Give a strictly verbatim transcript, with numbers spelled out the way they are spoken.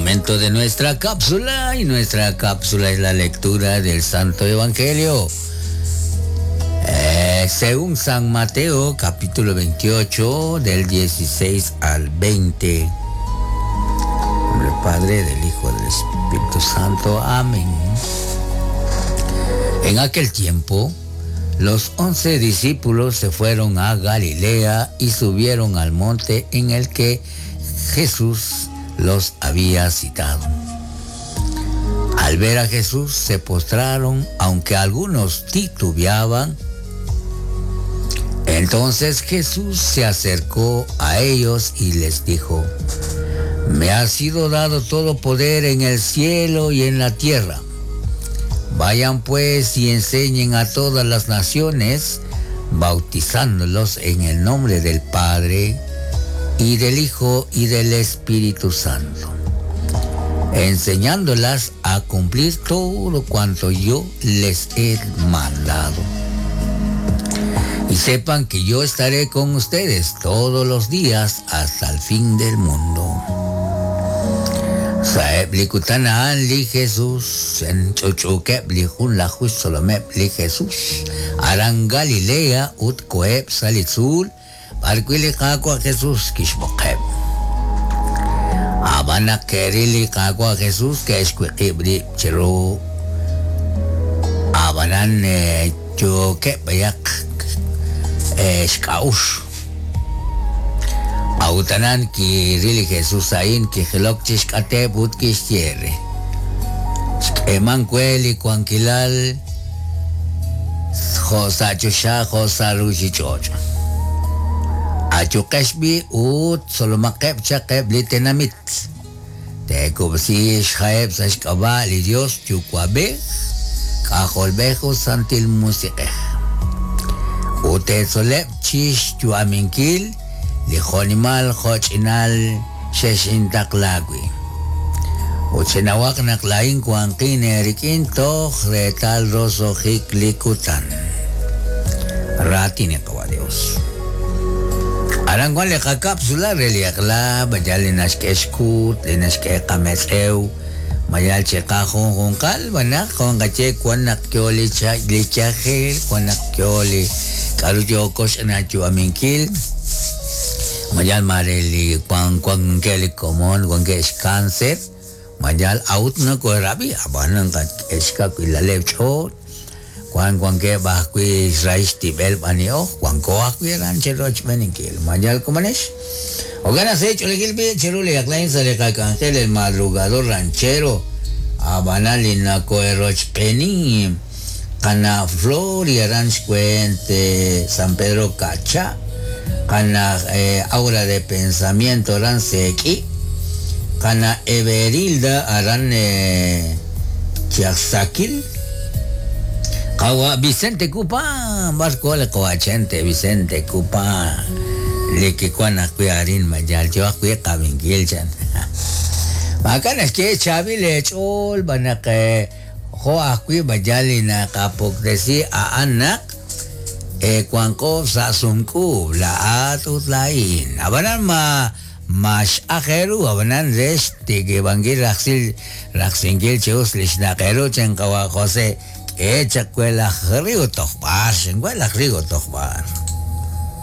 Momento de nuestra cápsula, y nuestra cápsula es la lectura del Santo Evangelio. Eh, según San Mateo, capítulo veintiocho, del dieciséis al veinte. En nombre del Padre, del Hijo, del Espíritu Santo. Amén. En aquel tiempo, los once discípulos se fueron a Galilea y subieron al monte en el que Jesús los había citado. Al ver a Jesús se postraron, aunque algunos titubeaban. Entonces Jesús se acercó a ellos y les dijo: Me ha sido dado todo poder en el cielo y en la tierra. Vayan pues y enseñen a todas las naciones, bautizándolos en el nombre del Padre y del Hijo y del Espíritu Santo, enseñándolas a cumplir todo cuanto yo les he mandado. Y sepan que yo estaré con ustedes todos los días hasta el fin del mundo. Saeb li kutan li Jesús, en chuchukeb li jun la solomeb li Jesús, aran Galilea ut koeb salitzul, barquili qaqwa Jesús kixboqeb. Abana kerili qaqwa Jesús kexquiqibri chiru. Abanan chukeb yak xkaush. Autanan kirili Jesús ain kijilok chixkateb ut kixyere. Xk'eman kueli kuankilal josa chusha josa ruchichocho. Achuqexbi ut solomaqeb chaqeb li tenamit. Tekubsi xjaeb sa xk'ab'a li Dios yukuabej, k'ajolbej santil musiqej. Utetzoleb chix yuaminkil li jonimal joch'inal xexintaqlawi. Uchinawaq naq lain kuanqin erikin toj retal rosojik likutan. Ratini qawa Dios. Aranguan le cápsula reliaqla, mayal linaxk'exkut, linaxk'eqametz'ew, mayal chiqajun junqal, banaq jonqache kuanaq kyoli lichajil, kuanaq kyoli k'aru yokox aminkil, mayal mareli kuan kuan keli komon, kuan kex cáncer, mayal aut no korabi, abanan k'exka kuilaleb ch'ot, Juan Juan que bajui raíz tibel banio, Juan coajui ranchero chmeninkil, mayal comanesh. Ogana se hecho le gilbi chiruli aklain sale cangel el madrugador ranchero, abanalina coeroch peni, cana flor y ranch cuente San Pedro Cacha, cana eh, aura de pensamiento ransequi, cana Everilda aran eh, Chiaxaquil. Kawa Vicente Cupa, barco le coachente Vicente Cupa, le que cuana cuiarin mayal yo cuia cabinguilchan. Macan es que Chavi le chol banake hoa cui bayalina kapokdesi a anak e cuanco sasumku la atutlain. Abanan ma mas ajeru abanan res tigibangil raxil raxingil cheus lishnaqeru chenkawa José. Echa cuela río tojbar, cuela río tojbar.